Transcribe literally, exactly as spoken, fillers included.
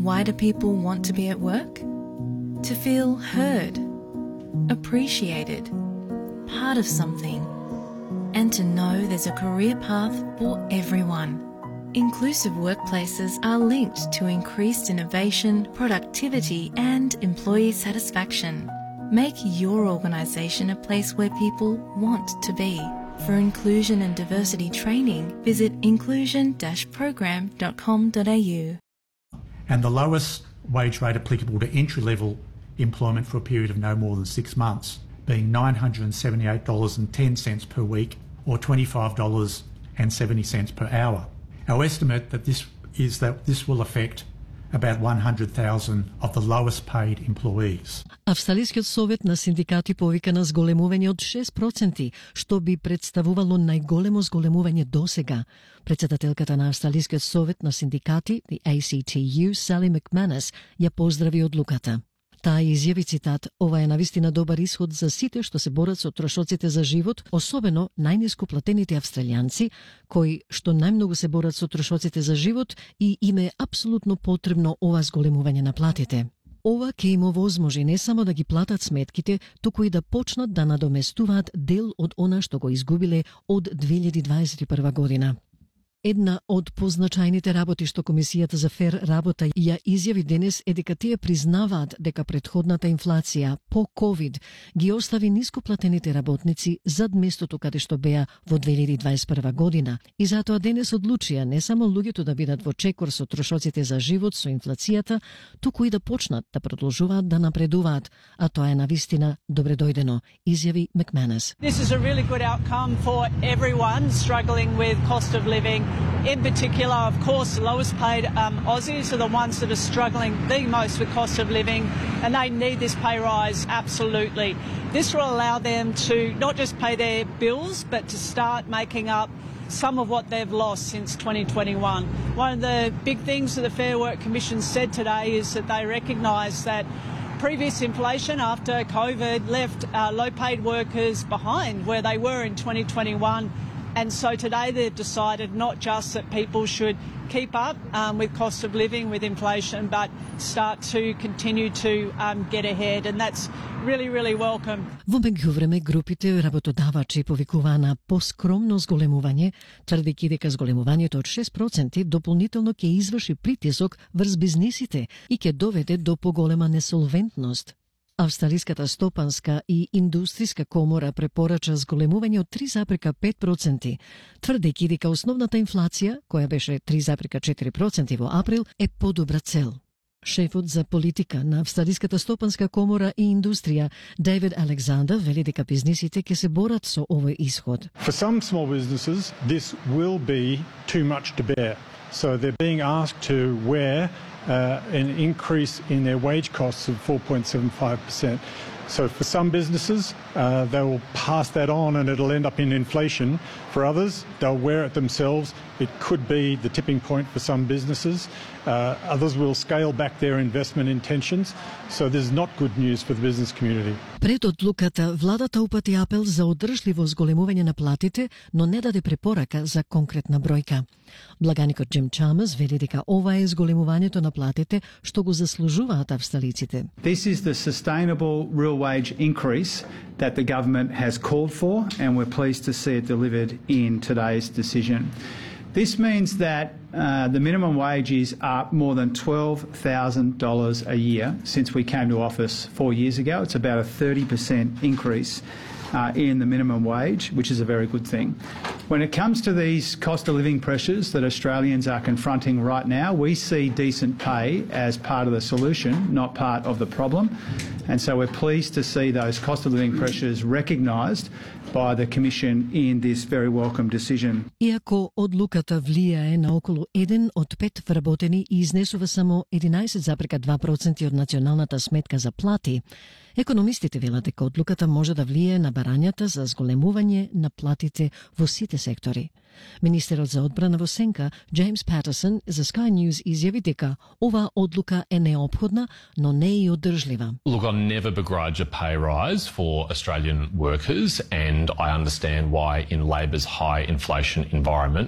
Why do people want to be at work? To feel heard, appreciated, part of something, and to know there's a career path for everyone. Inclusive workplaces are linked to increased innovation, productivity, and employee satisfaction. Make your organisation a place where people want to be. For inclusion and diversity training, visit inclusion dash program dot com dot a u. And the lowest wage rate applicable to entry-level employment for a period of no more than six months, being nine hundred seventy-eight dollars and ten cents per week or twenty-five dollars and seventy cents per hour. Our estimate that this is that this will affect about one hundred thousand of the lowest paid employees. Австралискиот совет на синдикати повика на зголемување од шест проценти, што би представувало најголемо зголемување досега. Председателката на Австралискиот совет на синдикати, the A C T U, Sally McManus, ја поздрави одлуката. Таа изјави, цитат, ова е навистина добар исход за сите што се борат со трошоците за живот, особено најниско платените австралијанци, кои што најмногу се борат со трошоците за живот и им е апсолутно потребно ова зголемување на платите. Ова ќе им овозможи не само да ги платат сметките, туку и да почнат да надоместуваат дел од она што го изгубиле од две илјади дваесет и прва година. Една од позначајните работи што Комисијата за фер работа ја изјави денес е дека тие признаваат дека претходната инфлација по ковид ги остави нископлатените работници зад местото каде што беа во две илјади дваесет и прва година и затоа денес одлучија не само луѓето да бидат во чекор со трошоците за живот со инфлацијата, туку и да почнат да продолжуваат да напредуваат, а тоа е навистина добре дојдено, изјави McManus. This is a really good outcome for everyone struggling with cost of living. In particular, of course, the lowest paid um, Aussies are the ones that are struggling the most with cost of living, and they need this pay rise absolutely. This will allow them to not just pay their bills, but to start making up some of what they've lost since twenty twenty-one. One of the big things that the Fair Work Commission said today is that they recognise that previous inflation after COVID left uh, low-paid workers behind where they were in twenty twenty-one. And so today they've decided not just that people should keep up um, with cost of living, with inflation, but start to continue to um, get ahead. And that's really, really welcome. Во меѓувреме, групите работодавачи повикуваа на поскромно зголемување, тврдејќи дека зголемувањето од шест проценти дополнително ќе изврши притисок врз бизнисите и ќе доведе до поголема несолвентност. Австралиската стопанска и индустријска комора препорача зголемување од три запирка пет проценти, тврдејќи дека основната инфлација, која беше три запирка четири проценти во април, е подобра цел. Шефот за политика на Австралиската стопанска комора и индустрија, Дейвид Александер, вели дека бизнисите ќе се борат со овој исход. For some small businesses, this will be too much to bear. So they're being asked to wear Uh, an increase in their wage costs of four point seven five percent. So for some businesses, uh, they will pass that on and it'll end up in inflation. For others, they'll wear it themselves. It could be the tipping point for some businesses. Uh, others will scale back their investment intentions. So there's not good news for the business community. Пред одлуката, владата упати апел за одржливо зголемување на платите, но не даде препорака за конкретна бројка. Благаникот Джим Чамерс вели дека ова е зголемувањето на платите што го заслужуваат австралиците. This is the sustainable real wage increase that the government has called for, and we're pleased to see it delivered in today's decision. This means that uh, the minimum wage is up more than twelve thousand dollars a year since we came to office four years ago. It's about a thirty percent increase uh, in the minimum wage, which is a very good thing. When it comes to these cost of living pressures that Australians are confronting right now, we see decent pay as part of the solution, not part of the problem. And so we're pleased to see those cost of living pressures recognised by the Commission in this very welcome decision. Иако одлуката влијае на околу еден од пет вработени и изнесува само единаесет запирка два проценти од националната сметка за плати, економистите велат дека одлуката може да влијае на барањата за зголемување на платите во сите сектори. Министерот за одбрана во сенка, Джеймс Патерсон, за Sky News изјави дека оваа одлука е неопходна, но не и одржлива. Look, I'll never begrudge a pay rise for Australian workers, and I understand why in Labor's high inflation environment